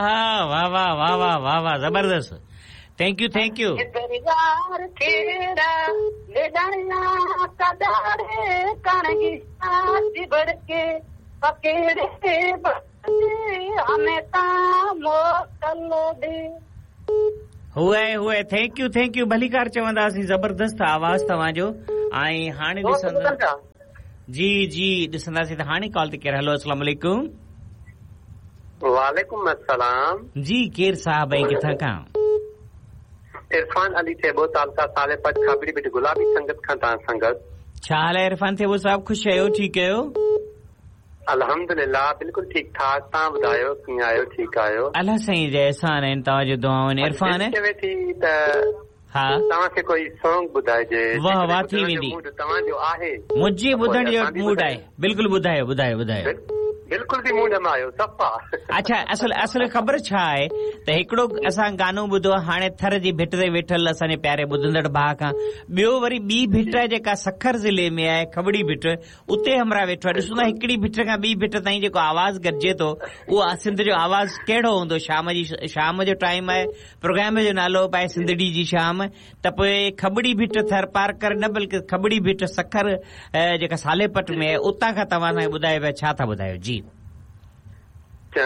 ها واه واه واه واه واه واه زبردست thank you thank you. يار ڪهڙا ليڏاڻيا ڪڏاڙي ڪڻگي چڀڙ ڪي پڪيڙي همي تان موڪل ڏي. هئي هئي thank you thank you ڀليڪار چونداسين زبردست آواز توهان جو ۽ هاڻي ڏسندا جي جي ڏسنداسين ته هاڻي ڪال تي ڪير هلو اسلام عليڪم. وعليڪم السلام. جي ڪير صاحب ۽ ڪٿان کان. عرفان علي ٿيٻو تعلقه صالح پٽ کاٻڙي ڀٽ گلابي سنگت کان توهان سان گڏ. ڇا حال آهي عرفان ٿيٻو صاحب خوش آهيو ٺيڪ آهيو. الحمدلله بلڪل ٺيڪ ٺاڪ توهان ٻڌايو ڪيئن آهيو ٺيڪ آهيو. الله سائين جا احسان آهن توهان جون دعائون آهن عرفان. دل چوي ٿي ته ها. توهان کي ڪوئي سونگ ٻڌائجي واه واه ٿي ويندي. موڊ توهان جو آهي. منهنجي ٻڌڻ جو موڊ آهي بلڪل ٻڌايو ٻڌايو ٻڌايو. بلڪل به موڊ ۾ آهيو صفا. اڇا اصل اصل خبر ڇا آهي ته هڪڙو اسان گانو ٻڌو هاڻي ٿر جي ڀٽ تي ويٺل اسان جي پياري ٻڌندڙ ڀاء کان ٻيو وري ٻي ڀٽ آهي جيڪا سکر ضلعي ۾ آهي کٻڙي ڀٽ اتي همراهه ويٺو آهي ڏسون ٿا هڪڙي ڀٽ کان ٻي ڀٽ تائين جيڪو آواز گڏجي ٿو اهو سنڌ جو آواز ڪهڙو هوندو شام جي شام جو ٽائيم آهي پروگرام جو نالو به آهي سنڌڙي جي شام ته پوء کٻڙي ڀٽ ٿرپارڪر نه بلڪه کٻڙي ڀٽ سکر جيڪا صالح پٽ ۾ آهي اتان کان توهان اسان کي ٻڌايو پيا ڇا ٿا ٻڌايو جي.